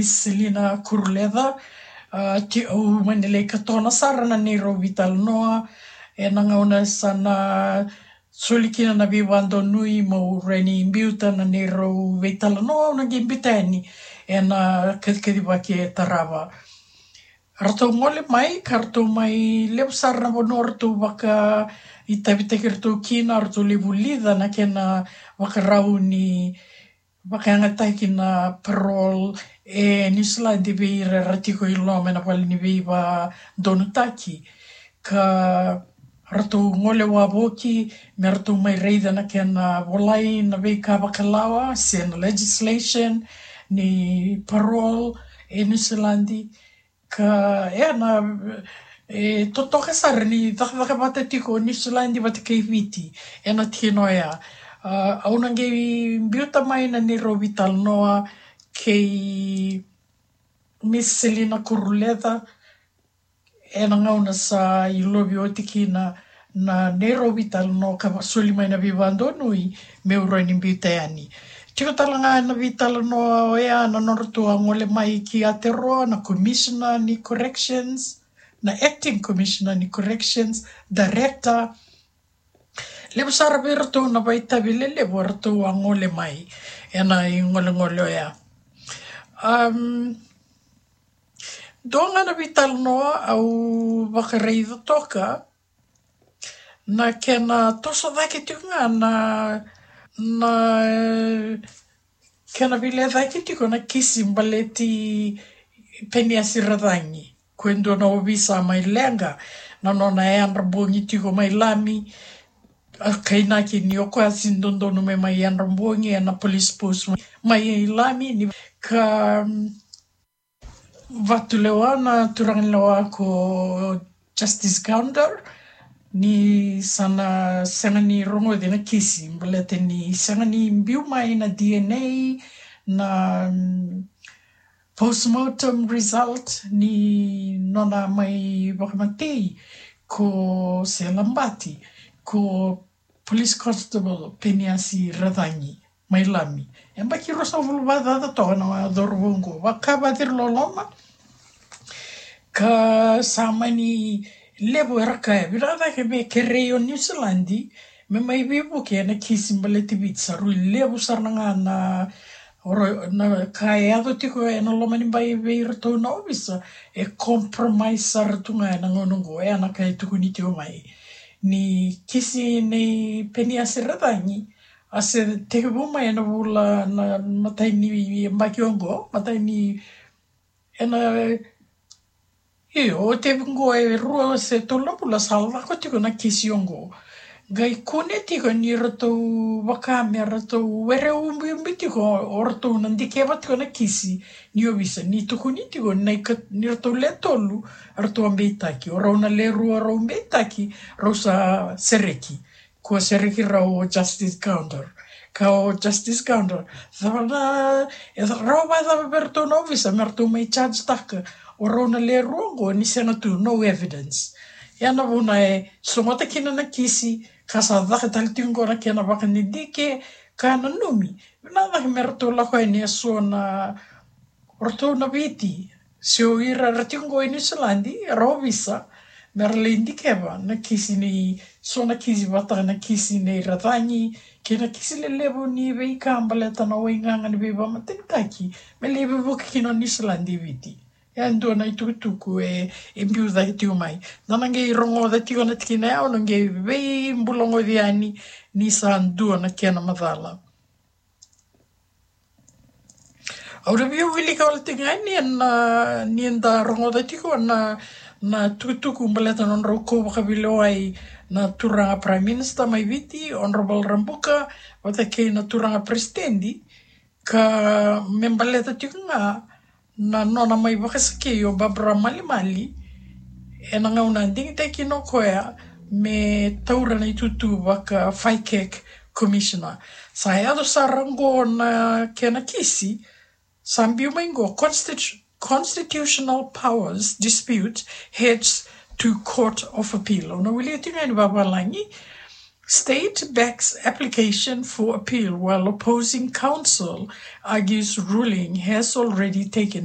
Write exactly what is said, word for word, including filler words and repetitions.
Selina Kuruleca. A, ti, au mani lai katona sara na neirau veitalanoa ena gauna sa na soli kina na veivadonui meu rawa ni biuta na neirau veitalanoa, au na qai biuta yani ena kacikaci vaka e tarava. Ratou gole mai ka ratou mai levu sara na vanua ratou vakaitavitaki ratou kina, ratou lai vulica na kena vakarau ni vakayagataki na parole e Niusiladi vei ira era tiko i loma ena vale ni veivadonutaki. Ka ratou gole wavoki me ratou mai raica na kena volai na veika vakalawa se na legislation ni parole e Niusiladi. Ka ena, e totoka sara ni cakacaka vata tiko o Niusiladi vata kei Viti ena tikina oya. A, au na qai biuta mai na neirau veitalanoa kei Miss Selina Kuruleca ena gauna sa ilovi oti kina na neirau veitalanoa ka soli mai na veivadonui meu rawa ni biuta yani. Tiko tale ga na veitalanoa oya na nodratou a gole mai ki Aotearoa na Commissioner ni Corrections, na Acting Commissioner ni Corrections, Director. Levu sara vei iratou na vakaitavi lelevu eratou a gole mai ena igolegole oya. Um, dua ga na veitalanoa au vakaraica toka na kena toso cake tiko ga na, na kena veilecayaki tiko na kisi baleti Peniasi Racagi, ko e dua na ovisa mai Leqa, na nona yadra bogi tiko mai Lami. A kainaki ni o koya sega ni dodonu me mai yadra bogi ena police post mai Lami, ni ka vatulewa na turaga ni lewa ko Justice Gander ni sa na sega ni rogoci na kisi baleta ni sega ni biu mai na D N A, na, mm, postmortem result ni nona mai vakamatei ko se labati ko Police Constable Peniasi Racagi mai Lami. E baki ruasagavulu vakacaca toka na cauravou oqo, vaka vaciri loloma. Ka sa mani levu era kaya, vinaka cake me kerei o Niusiladi me mai veivuke ena kisi baleti Viti. Sa rui levu sara ga na, na ka e yaco tiko ena loma ni bai vei iratou na ovisa e compromise sara tu ga ena gauna oqo. E na ka e tukuni tiko mai ni kisi nei Peniasi Racagi a se tekivu mai ena vula na matai ni yabaki oqo, matai ni, ena, io, o tekivu oqo e rua se tolu na vula sa lako tiko na kisi oqo. Qai kune tiko ni ratou vaka me ratou were ubiubi tiko, o ratou na dikeva tiko na kisi ni ovisa ni tukuni tiko ni ratou le tolu ratou a beitaki, o rau na le rua rau beitaki, rau sa sereki. Ko sereki rau o Justice Gander. Ka o Justice Gander, cava na, e rawa vakacava vei ratou na ovisa me ratou mai charge taka o rau na le rua oqo ni sega tu, no evidence. Ia na vuna e sogota kina na kisi, ka sa caka tale tiko oqo na kena vakadidike, ka nanumi vinaka cake me ratou lako yani e so na, o ratou na Viti se o ira era tiko oqo e Niusiladi era ovisa, me ra lai dikeva na kisi nei, so na kisi vata na kisi nei Racagi kei na kisi lelevu ni veika baleta na waigaga ni veivakamatenitaki me lai veivuke kina o Niusiladi e Viti. E dua na itukutuku e, e biu cake tiko mai. Da na qai rogoca tiko na tikina ya, au na qai veibulagoci yani ni sa dua na kena macala. Au na via wilika wale tiko ga ni na, ni da rogoca tiko na, na tukutuku baleta na nodrau kau vakaveilewai na turaga Prime Minister mai Viti, Honourable Rabuka, vata kei na turaga Peresitedi, ka me baleta tiko ga na nona mai vakasakei o Barbara Malimali ena gauna a digitaki kina o koya me taura na itutu vaka FICAC Commissioner. Sa yaco sara oqo na kena kisi, sa biu mai oqo, constitu-, constitutional powers dispute heads to Court of Appeal. Au na wilika tiko ga ni vavalagi, State backs application for appeal while opposing counsel argues ruling has already taken